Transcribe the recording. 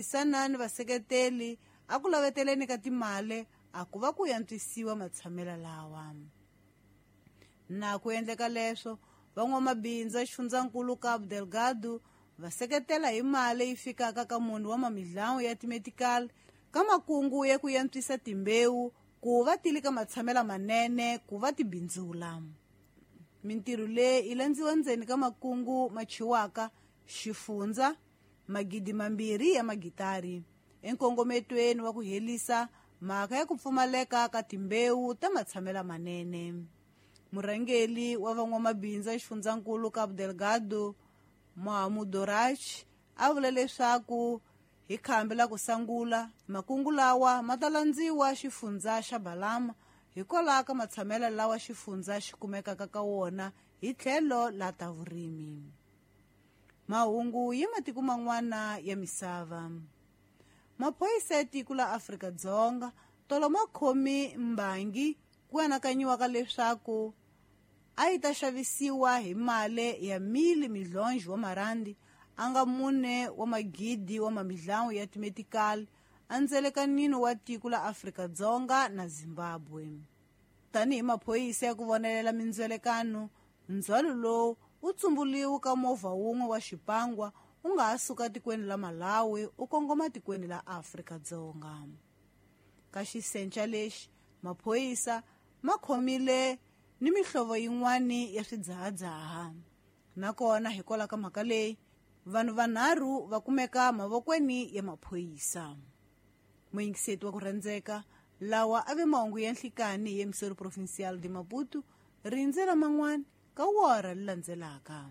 Tirhisana ni vaseketeli a ku laveteleni ka timali a ku va ku yantswisiwa matshamelo lawa. Na ku endleka leswo, van'wamabindzu ya xifundzankulu Cabo Delgado va seketela hi mali yi fikaka ka munhu wa mamidlawu ya timedical ka makungu ya ku yantswisa timbewu ku va ti li ka matshamelo manene ku va tibindzula. Mintirho leyi yi landziwa ndzeni ka makungu machiwaka xifundza 2,000 ya magitari enkongometweni wa ku helisa mhaka ya ku pfumaleka ka timbewu ta matshamelo manene. Murhangeri wa van'wamabindzu ya xifundzankulu Cabo Delgado Mohamudorach a vula leswaku hi khambi la ku sangula makungu lawa ma ta landziwa xifundza xa Balama hikwalaho ka matshamelo lawa xifundza xi kumekaka ka wona hi tlhelo la ta vurimi. Mahungu ya matiko man'wana ya misava. Maphorisa ya tiko la Afrika-Dzonga tolo ma khomi mbangi ku anakanyiwaka leswaku a yi ta xavisiwa hi mali ya mili midlonjo wa marandi a nga 4 wa magidi wa mamidlawu ya timedical andzelekanini wa tiko la Afrika-Dzonga na Zimbabwe. Tanihi maphorisa ya ku vonelela mindzelekano, ndzhwalo lowu wu tsumbuliwe ka movha wun'we wa xipangwa u nga ha suka tikweni la Malawi u kongoma tikweni la Afrika-Dzonga. Ka xisenca lexi, maphorisa ma khomile ni mihlovo yin'wana ya swidzahadzaha. Nakona hikwalaho ka mhaka leyi, vanhu vanharhu va kumeka mavokweni ya maphorisa. Muyingiseti wa ku rhandzeka, lawa a ve mahungu ya nhlikani hi Emissor Provincial de Maputo, rindzela man'wana ka wora leri landzelaka.